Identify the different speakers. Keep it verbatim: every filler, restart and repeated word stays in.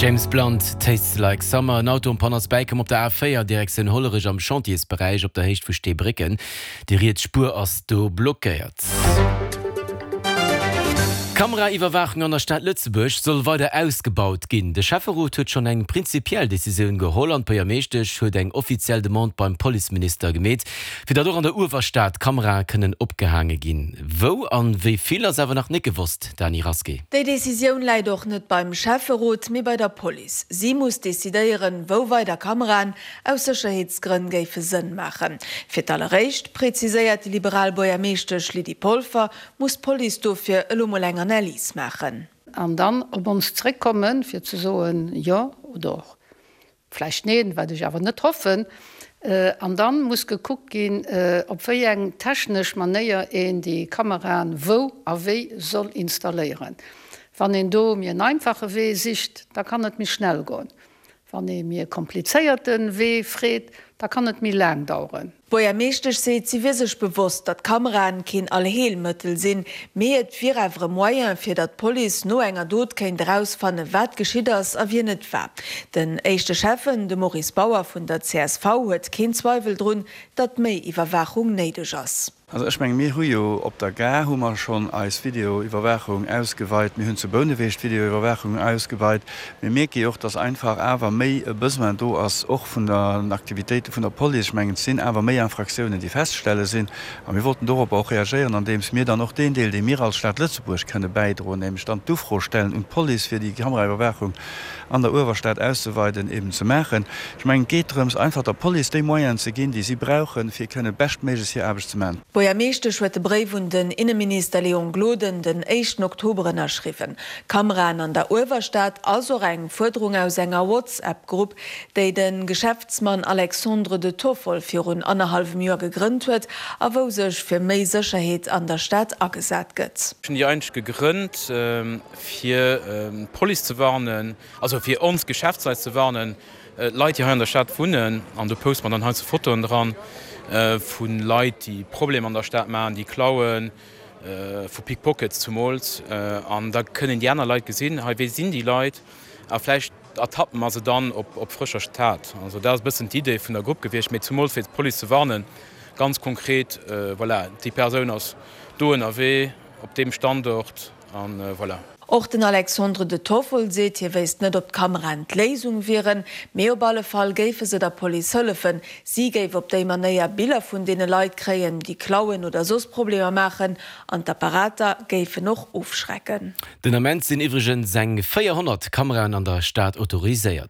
Speaker 1: James Blunt, Tastes Like Summer. En Auto en panne ass bäikomm op der A véier Direktioun Hollerech am Chantiersberäich op der Héicht vu Steebrécken. Déi riets Spuer ass do blockéiert. D'Kameraiwwerwaachung an der Stad Lëtzebuerg soll weider ausgebaut ginn. De Schäfferot huet schonn eng prinzipiell Decisioun geholl an d'Buergermeeschtesch huet eng offiziell Demande beim Policeminister gemeet, fir datt och an der Uewerstad Kamerae kënnen opgehaange ginn. Wou an wéi vill ass awer nach net gewosst, Dany Rasqué.
Speaker 2: Déi Decisioun läit och net beim Schäfferot, mee bei der Police. Si muss decidéieren, wou weider Kameraen aus Sécherheetsgrënn géife Sënn maachen. Fir d'alleréischt, preziséiert déi liberal Buergermeeschtesch Lydie Polfer, muss d'Police dofir elo mol eng Analys maachen.
Speaker 3: An dann op ons zréckkommen, fir ze soen, jo oder och vläicht neen, wat ech awer net hoffen. An dann muss gekuckt ginn, op wéi eng technesch Manéier een déi Kameraen wou a wéi soll installéieren. Wann een do méi en einfache Wee sicht, da kann et méi schnell goen. Wann ee méi e komplizéierte Wee freet, da kann et méi laang daueren.
Speaker 2: D'Buergermeeschtesch seet, si wier sech bewosst, datt Kameraen keen Allheelmëttel sinn, mee et wier awer e Moyen, fir datt d'Police no enger Dot kéint erausfannen, wat geschitt ass a wien et war. Den éischte Schäffen, de Maurice Bauer vun der C S V, huet keen Zweiwel drun, datt méi Iwwerwaachung néideg ass.
Speaker 4: Also ech menge mir hu jo op der Gare hu mer schonn eis Videoiwwerwaachung ausgeweit, mir hunn zu Bouneweg d'Videoiwwerwaachung ausgeweit. Mir mierke jo och, datt einfach awer méi e Besoin do ass, och vun den Aktivitéite vun der Police. Ech mengen, et sinn awer méi Infraktiounen, déi festzestelle sinn. A mir wollten doropper och reagéieren, andeems mir dann och deen Deel, dee mir als Stad Lëtzebuerg kënne bäidroen, nämlech dann d'Ufro stellen un d'Police, fir déi Kameraiwwerwaachung an der Uewerstad auszeweiden, eben ze maachen. Ech mengen, et geet drëms, einfach der Police déi Moyenen ze ginn, déi si brauchen, fir kënne beschtméiglechst hir Aarbecht ze maachen.
Speaker 2: D'Buergermeeschtesch huet de Bréif un den Inneminister Léon Gloden den éischten Oktober ënnerschriwwen. Kameraen an der Uewerstad ass och eng Fuerderung aus enger WhatsApp-Grupp, déi de Geschäftsmann Alexandre de Toffol virun annerhallwem Joer gegrënnt huet a wou sech fir méi Sécherheet an der Stad agesat gëtt.
Speaker 5: Ech hunn déi eigentlech gegrënnt, fir d'Police ze warnen, also fir ons Geschäftsleit ze warnen, Leit, déi hei an der Stad wunnen, an do poste mer dann heiansdo Fotoen dran vu Leit, déi Problemer an der Stad maachen, déi klauen, vu Pickpockets zumools. An da kënnen déi aner Leit gesinn, hei, wee sinn déi Leit? A vläicht ertappe mer se dann op frëscher Tat. Also dat ass e bëssen d'Idee vun der Grupp gewiescht, mee zumools fir d'Police ze warnen, ganz konkret, voilà, déi Persoun ass do ënnerwee, op deem Standort, a voilà.
Speaker 2: Och den Alexandre de Toffol seet, hie wéisst net, ob d'Kameraen d'Léisung wieren, mee op alle Fall géife se der Police hëllefen. Si géif op déi Manéier Biller vun deene Leit kréien, déi klauen oder soss Problemer maachen, an d'Apparater géifen och ofschrecken.
Speaker 1: Den Ament sinn iwwregens eng véierhonnert Kameraen an der Stad autoriséiert.